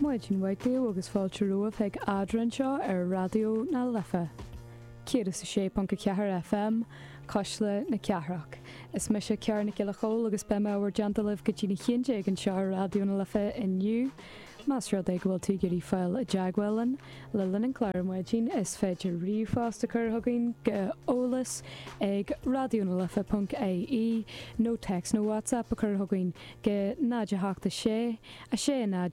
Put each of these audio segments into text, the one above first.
Maidin mhaith daoibh agus fáilte romhaibh chuig Eadrainn anseo ar Raidió na Life 106.4 FM, Cuisle na Cathrach. Is mise Ciara Nic Giolla Chóill agus beidh mé i bhur dteannta libh go dtí'n 11 anseo ar Raidió na Life inniu. Más rud é go bhfuil tú ag iarraidh fáil i dteagmháil linn le linn an chláir ar maidin, is féidir ríomhphost a chur chugainn go eolas ag raidionalife.ie nó téacs nó WhatsApp a chur chugainn go 0 8 6 6 0 0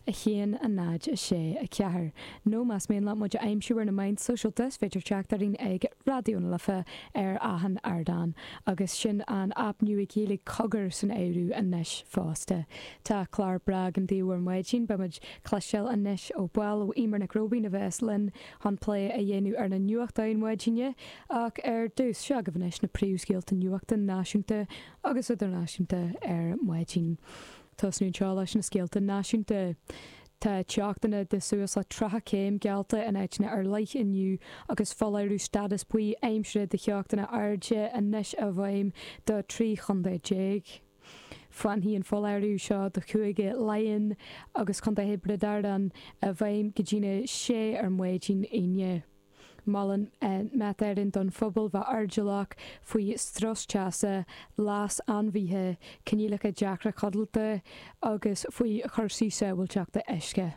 1 0 6 4. Nó más mian leat muid a aimsiú ar na meáin sóisialta, is féidir teacht orainn ag Raidió na Life ar achan ardán. Agus sin an aip nua Gaeilge Cogar san áireamh anois fosta. Tá clár breá againn daoibh ar maidin. Beidh muid cloisteáil anois ó bhall ó Eimear Nic Róibín a bheas linn chun plé a dhéanamh ar na nuachtáin maidine. Ach ar dtús, seo agaibh anois na príomhscéalta nuachta náisiúnta agus idirnáisiúnta ar maidin. Tosnú anseo leis na scéalta náisiúnta. Tá teochtanna de suas le 30 céim geallta in áiteanna ar leith inniu agus foláireamh stádas buí aimsire de theochtanna airde anois i bhfeidhm do 13 chontae. Fanfaidh an foláireamh seo do Chúige Laighean agus Contae Thiobraid Árann i bhfeidhm go dtína sé ar maidin Aoine. Molann Met Éireann don phobal bheith airdeallach faoi strus teasa, leas ainmhithe, coinníollacha deacra codlata agus faoi chúrsaí sábháilteachta uisce.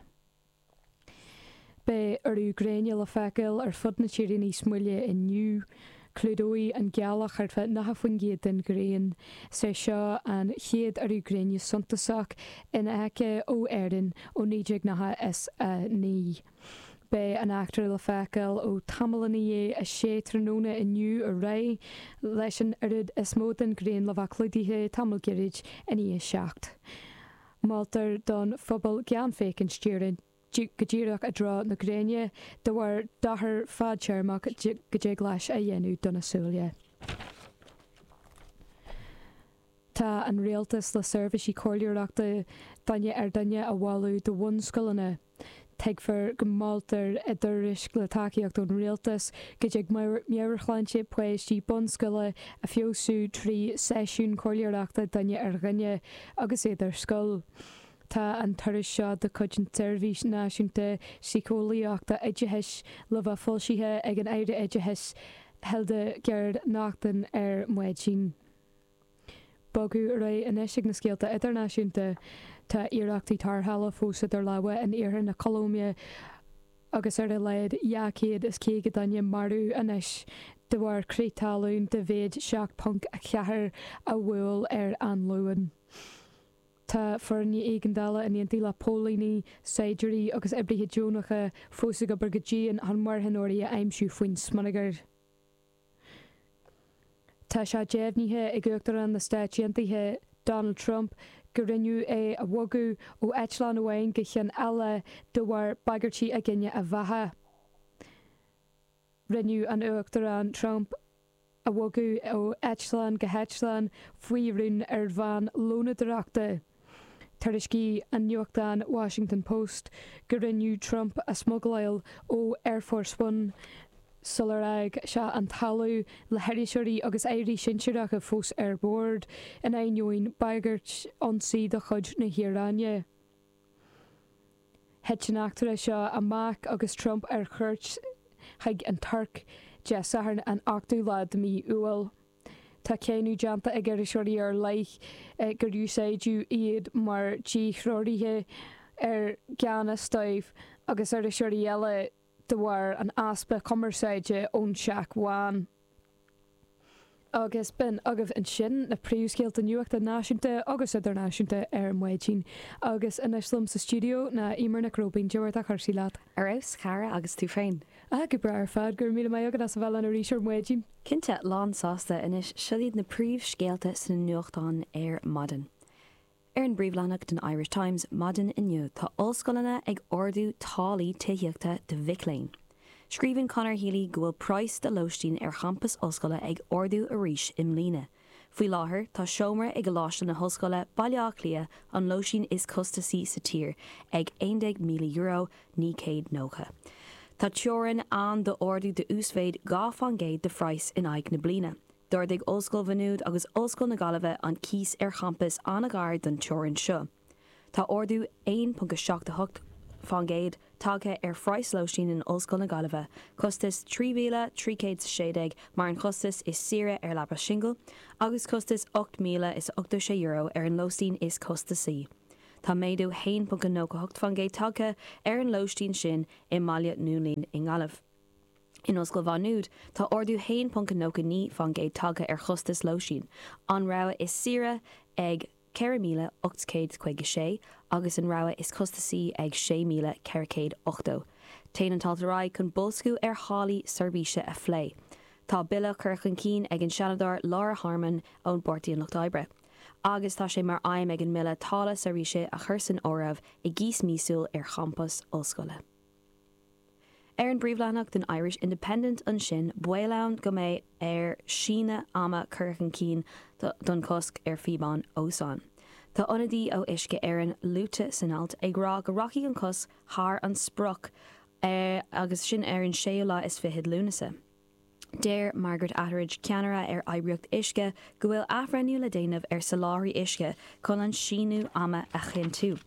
Beidh urú gréine le feiceáil ar fud na tíre níos moille inniu. Clúdóidh an ghealach thart fá 90% den ghrian. Is é seo an chéad urú gréine suntasach infheicthe ó Éirinn ó 1999. Beidh an eachtra le feiceáil ó tamall i ndiaidh a sé tráthnóna inniu ar aghaidh, leis an oiread is mó den ghrian le bheith clúdaithe tamall gairid i ndiaidh a 7. Moltar don phobal gan féachaint go díreach i dtreo na gréine de bharr dochar fadtéarmach go dtig leis a dhéanamh do na súile. Tá an Rialtas le seirbhísí comhairleoireachta duine ar dhuine a mholadh do bhunscoileanna. Tuigtear go moltar i dtuairisc le tacaíocht ón Rialtas go dtig meabhairshláinte páistí bunscoile a feabhsú trí seisiúin comhairleoireachta duine ar dhuine agus iad ar scoil. Tá an tuairisc seo de chuid an tSeirbhís Náisiúnta Síceolaíochta Oideachais le bheith foilsithe ag an Aire Oideachais Hildegarde Naughton ar maidin. Bogadh ar aghaidh anois ag na scéalta idirnáisiúnta. Tá iarrachtaí tarrthála fós idir lámha in iarthar na Colóime agus ar a laghad 250 duine marbh anois de bharr crith talún de mhéid 7.4 a bhuail ar an Luan. Tá foirne éigeandála in éindí le póilíní, saighdiúirí agus oibrithe deonacha fós ag obair go dian chun marthanóirí a aimsiú faoin smionagar. Tá sé deimhnithe ag Uachtarán na Stáit Aontaithe, Donald Trump, go rinneadh é a bhogadh ó eitleán amháin go ceann eile de bharr bagairtí i gcoinne a bheatha. Rinneadh an Uachtarán Trump a bhogadh ó eitleán go heitleán faoi rún ar bhonn lónadóireachta. Tuairiscigh an nuachtán Washington Post go rinneadh Trump a smugaláil ó Air Force One sular fhág sé an talamh le hiriseoirí agus airí sinsearacha fós ar bord, in ainneoin bagairt ionsaí de chuid na hIaráine. Thit an eachtra seo amach agus Trump ar cuairt chuig an Tuirc Dé Sathairn an 8ú lá de mhí Iúil. Tá cáineadh déanta ag iriseoirí ar leith gur úsáideadh iad mar dhíthreoraithe ar gan fhios dóibh agus iriseoirí eile de bharr an easpa cumarsáide ón Teach Bhán. Agus b'in agaibh ansin na príomhscéalta nuachta náisiúnta agus idirnáisiúnta ar maidin. Agus anois liom sa stiúideo ná Eimear Nic Róibín. Cad é mar atá cúrsaí leat? Ar fheabhas, a chara, agus tú féin? Ah, go breá ar fad. Go raibh míle maith agat as a bheith linn arís ar maidin. Cinnte, lán sásta. Anois, seo iad na príomhscéalta sna nuachtáin ar maidin. Ar an bpríomhleathanach den Irish Times maidin inniu tá ollscoileanna ag ardú táillí tithíochta do mhic léinn. Scríobhann Conor Healy go bhfuil praghas do lóistín ar champas ollscoile ag ardú arís i mbliana. Faoi láthair, tá seomra i gColáiste na hOllscoile, Baile Átha Cliath, an lóistín is costasaí sa tír, ag €11,000, 990. Tá teorainn ann d'ardú d'uasmhéid 2 fán gcéad de phraghas in aghaidh na bliana. D'ardaigh Ollscoil Mhaigh Nuad agus Ollscoil na Gaillimhe an cíos ar champas an-ghar don teorainn seo. Tá ardú 1.78% tagtha ar phraghas lóistín in Ollscoil na Gaillimhe, costas 3,316 mar an chostas is saoire ar leaba singil agus costas €8,086 ar an lóistín is costasaí. Tá méadú 1.98% tagtha ar an lóistín sin i mBaile Mhúirne i nGaillimh. In Ollscoil Mhá Nuad, tá ardú 1.99% tagtha ar chostas lóistín, an rogha is saoire ag 4,856 agus an rogha is costasaí ag 6,480. Téann an t-alt ar aghaidh chun boilsciú ar tháillí seirbhíse a phlé. Tá bille curtha chun cinn ag an Seanadóir Laura Harmon ón bPáirtí an Lucht Oibre. Agus tá sé mar aidhm ag an mbille táille seirbhíse a chur san áireamh i gcíos míosúil ar champas ollscoile. Ar an bpríomhleathanach den Irish Independent ansin, baol ann go mbeidh air síneadh ama curtha chun cinn don chosc ar phíobáin ózóin. Tá ionadaí ó Uisce Éireann luaite san alt ag rá go rachaidh an cosc thar an sprioc agus sin ar an séú lá is fichead Lúnasa. Deir Margaret Atteridge, ceannaire ar oibríocht Uisce, go bhfuil athbhreithniú le déanamh ar soláthraí uisce chun an síneadh ama a chinntiú.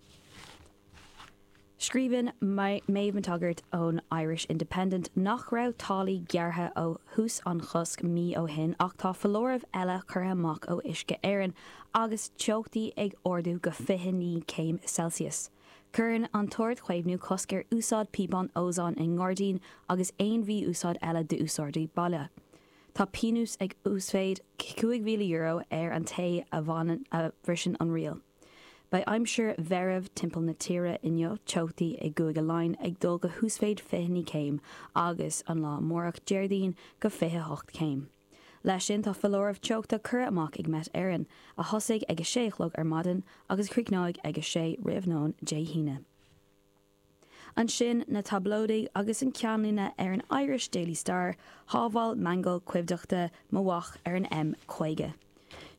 Scríobhann Méabh McTaggart ón Irish Independent nach raibh táillí gearrtha ó thús an chosc mí ó shin ach tá foláireamh eile curtha amach ó Uisce Éireann agus teochtaí ag ardú go 29 céim Celsius. Cuireann an tArd-Chaomhnú cosc ar úsáid píobán ózóin i ngairdín agus aon mhí-úsáid eile d'úsáidí baile. Tá pionós ag uasmhéid €5,000 ar an té a bhriseann an riail. Beidh aimsir mheirbh timpeall na tíre inniu, teochtaí i gCúige Laighean ag dul go huasmhéid 29 céim agus an lá amárach, Déardaoin, go 28 céim. Leis sin tá foláireamh teochta curtha amach ag Met Éireann, a thosaigh ag a sé a chlog ar maidin agus a chríochnóidh ag a sé roimh nóin Dé hAoine. Ansin na tablóidigh agus an ceannlíne ar an Irish Daily Star, Shábháil miotal coimhdeachta mo mhac ar an M50.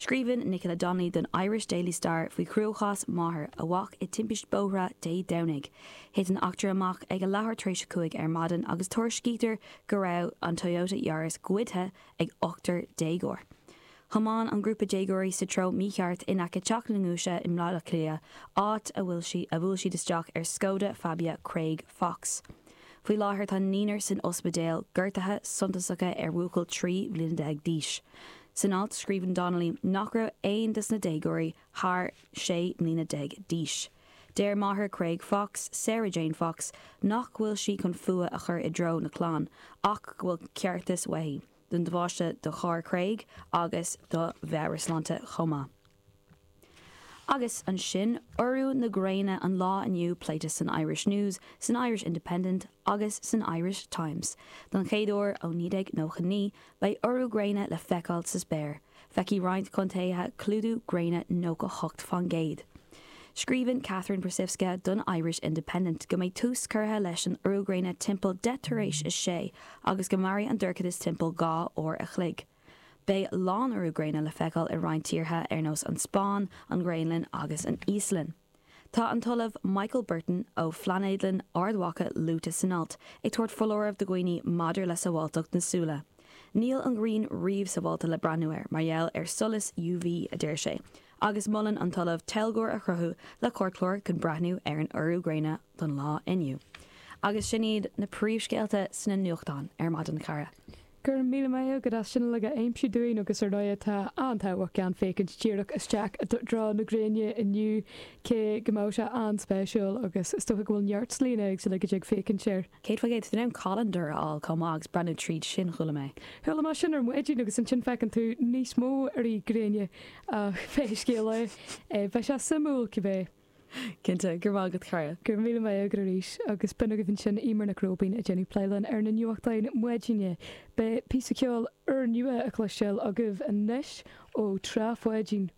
Scríobhann Nicola Donnelly don Irish Daily Star faoi chruachás máthar a mhac i timpiste bóthair Dé Domhnaigh. Thit an eachtra amach ag a leathuair tar éis a 5 ar maidin agus tuairiscítear go raibh an Toyota Yaris goidte ag ochtar déagóir. Thiomáin an grúpa déagóirí sa treo mícheart in aice Teach na nGiúise i mBaile Átha Cliath, áit a bhfuil sí a bhuail siad isteach ar Skoda Fabia Craig Fox. Faoi láthair tá naonúr san ospidéal, gortuithe suntasacha ar bhuachaill 13 bhliana d'aois. San alt, scríobhann Donnelly nach raibh aon dos na déagóirí thar 16 mbliana d'aois. Deir máthair Craig Fox, Sarah Jane Fox, nach bhfuil sí chun fuath a chur i dtreo na clann, ach go bhfuil ceartas uaithi. don damáiste do charr Craig agus do mheabhairshláinte chomh maith. Agus ansin, urú na gréine an lá inniu pléite san Irish News, san Irish Independent agus san Irish Times. Don chéad uair ó 1999, beidh urú gréine le feiceáil sa spéir. Feicfidh roinnt contaetha clúdú gréine 98%. Scríobhann Katherine Persiwska don Irish Independent go mbeidh tús curtha leis an urú gréine timpeall 6:10 tar éis agus go mairfidh an dorchadas timpeall 2 uair a chloig. Beidh lánurú gréine le feiceáil i roinnt tíortha ar nós an Spáinn, an Ghraonlainn agus an Íoslainn. Tá an tOllamh Michael Burton ó Phlainéadlann Ard Mhacha luaite san alt, ag tabhairt foláireamh do dhaoine maidir le sábháilteacht na súile. Níl an ghrian riamh sábháilte le breathnú air mar gheall ar solas UV, a deir sé, agus molann an tOllamh teilgeoir a chruthú le cairtchlár chun breathnú ar an urú gréine don lá inniu. Agus sin iad na príomhscéalta sna nuachtáin ar maidin, a chara. Go raibh míle maith agat as sin uilig a aimsiú dúinn agus ar ndóigh tá an-tábhacht gan féachaint díreach isteach i dtreo na gréine inniu cé go mbeadh sé an-spéisiúil agus is dócha go bhfuil neart slíanna éagsúla go dtig féachaint air. 100% tá tú in ann caileandar a fháil chomh maith agus breathnú tríd sin, chuala mé. Chuala mé sin ar maidin agus ansin feiceann tú níos mó urú gréine ach pé scéal é, beidh sé suimiúil cibé. Cinnte, go raibh maith agat chara. Go raibh míle maith agat arís agus b'in agaibh ansin Eimear Nic Róibín ag déanamh plé linn ar na nuachtáin maidine. Beidh píosa ceoil úrnua a chloisteáil agaibh anois ó Trá Pháidín.